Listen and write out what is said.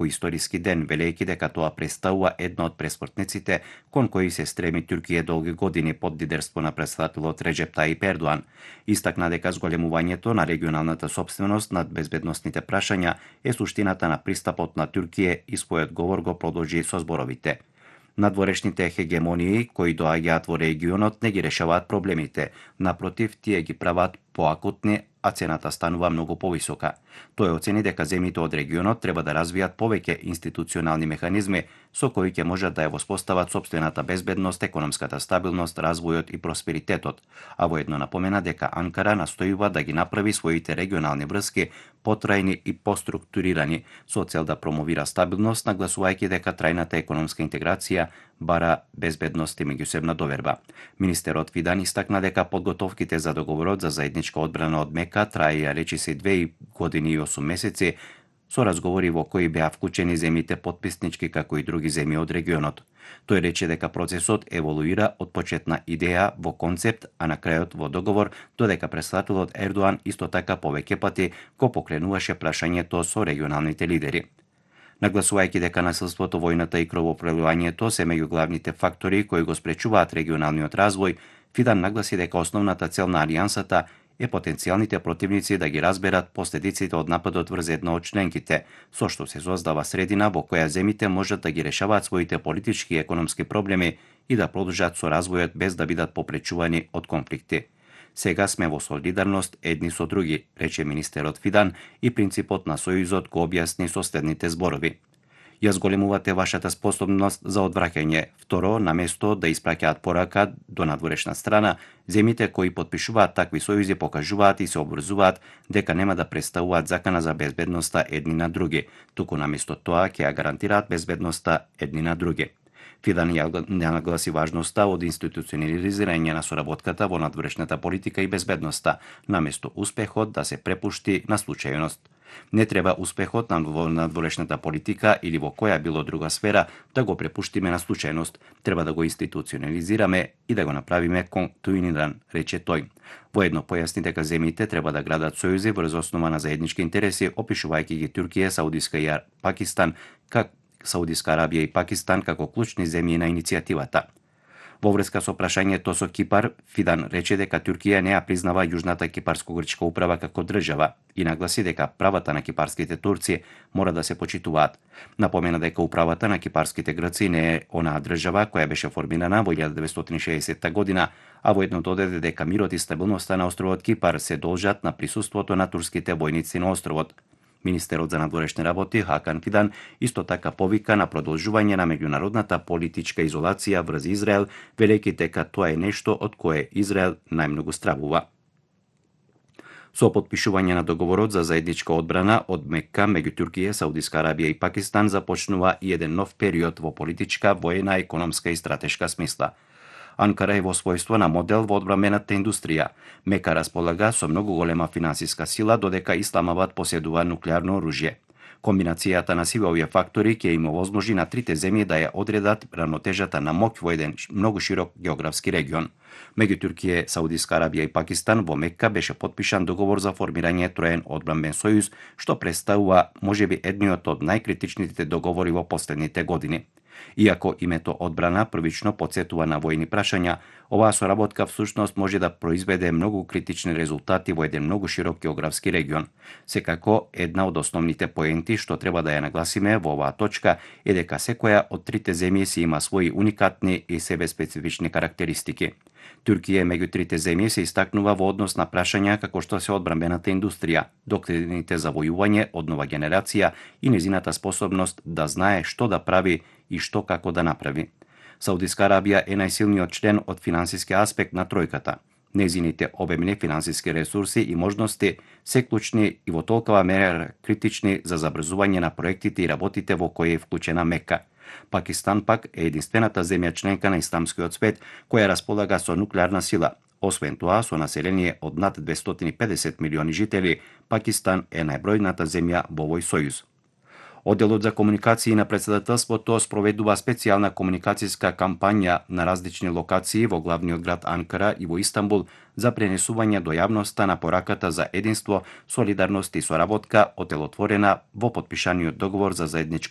по историски ден, велејќи дека тоа представува една од пресмртниците кон кои се стреми Туркија долги години под лидерство на претседателот Реджеп Таип Ердоан. Истакна дека зголемувањето на регионалната сопственост над безбедносните прашања е суштината на пристапот на Туркија и својот говор го продолжи со зборовите. Надворешните хегемонии кои доаѓаат во регионот не ги решаваат проблемите, напротив, тие ги прават поакутни, а цената станува многу повисока. Тој оцени дека земјите од регионот треба да развијат повеќе институционални механизми со кои ќе можат да ја воспостават сопствената безбедност, економската стабилност, развојот и просперитетот, а воедно напомена дека Анкара настојува да ги направи своите регионални врски потрајни и поструктурирани со цел да промовира стабилност, нагласувајќи дека трајната економска интеграција бара безбедност и меѓусебна доверба. Министерот Фидан истакна дека подготовките за договорот за заедничка одбрана од Мека траеја речиси 2 години и 8 месеци, со разговори во кои беа вклучени земјите потписнички како и други земји од регионот. Тој рече дека процесот еволуира од почетна идеја во концепт, а на крајот во договор, додека претседателот Ердоан исто така повеќе пати го покренуваше прашањето со регионалните лидери. Нагласувајќи дека насилството, војната и кровопроливањето се меѓу главните фактори кои го спречуваат регионалниот развој, Фидан нагласи дека основната цел на алијансата е потенцијалните противници да ги разберат последиците од нападот врз една од членките, со што се создава средина во која земјите можат да ги решаваат своите политички и економски проблеми и да продолжат со развојот без да бидат попречувани од конфликти. Сега сме во солидарност едни со други, рече министерот Фидан и принципот на сојузот го објасни со следните зборови. Ја зголемувате вашата способност за одвраќање. Второ, наместо да испраќаат порака до надворешна страна, земјите кои потпишуваат такви сојузи покажуваат и се обврзуваат дека нема да представуваат закана за безбедноста едни на други, туку наместо тоа ќе ја гарантираат безбедноста едни на други. Фидан ја нагласи важноста од институционализирање на соработката во надворешната политика и безбедноста, наместо успехот да се препушти на случајност. Не треба успехот на надворешната политика или во која било друга сфера да го препуштиме на случајност, треба да го институционализираме и да го направиме континуиран, рече тој. Воедно појасни дека земјите треба да градат сојузи врз основа на заеднички интереси, опишувајќи ги Туркија, Саудиска Арабија и Пакистан како клучни земји на иницијативата. Во врска со прашањето со Кипар, Фидан рече дека Туркија не ја признава Јужната кипарско-грчка управа како држава и нагласи дека правата на кипарските турци мора да се почитуваат. Напомена дека управата на кипарските грци не е онаа држава која беше формирана во 1960 година, а воедно додаде дека мирот и стабилноста на островот Кипар се должат на присуството на турските војници на островот. Министерот за надворешни работи Хакан Фидан исто така повика на продолжување на меѓународната политичка изолација врз Израел, велејќи дека тоа е нешто од кое Израел најмногу стравува. Со потпишување на договорот за заедничка одбрана од Мекка меѓу Туркија, Саудиска Арабија и Пакистан започнува и еден нов период во политичка, воена, економска и стратешка смисла. Анкара е во својство на модел во одбрамбената индустрија. Мека располага со многу голема финансиска сила, додека Исламабад поседува нуклеарно оружје. Комбинацијата на сиве овие фактори ќе им овозможи на трите земји да ја одредат равнотежата на моќ во еден многу широк географски регион. Меѓу Туркија, Саудиска Арабија и Пакистан во Мекка беше потпишан договор за формирање троен одбрамбен сојуз, што представува можеби едниот од најкритичните договори во последните години. Иако името одбрана првично потсетува на војни прашања, оваа соработка всушност може да произведе многу критични резултати во еден многу широк географски регион. Секако, една од основните поенти што треба да ја нагласиме во оваа точка е дека секоја од трите земји си има своји уникатни и себе специфични карактеристики. Туркија меѓу трите земји се истакнува во однос на прашања како што се одбрамбената индустрија, доктрините за војување од нова генерација и незината способност да знае што да прави и што како да направи. Саудиска Арабија е најсилниот член од финансиски аспект на тројката. Незините обемни финансиски ресурси и можности се клучни и во толкова мера критични за забрзување на проектите и работите во кои е вклучена Мека. Пакистан пак е единствената земја членка на исламскиот свет која располага со нуклеарна сила. Освен тоа, со население од над 250 милиони жители, Пакистан е најбројната земја во овој сојуз. Одделот за комуникации на председателството спроведува специјална комуникацијска кампања на различни локации во главниот град Анкара и во Истанбул за пренесување до јавноста на пораката за единство, солидарност и соработка, оделотворена во потпишаниот договор за заедничко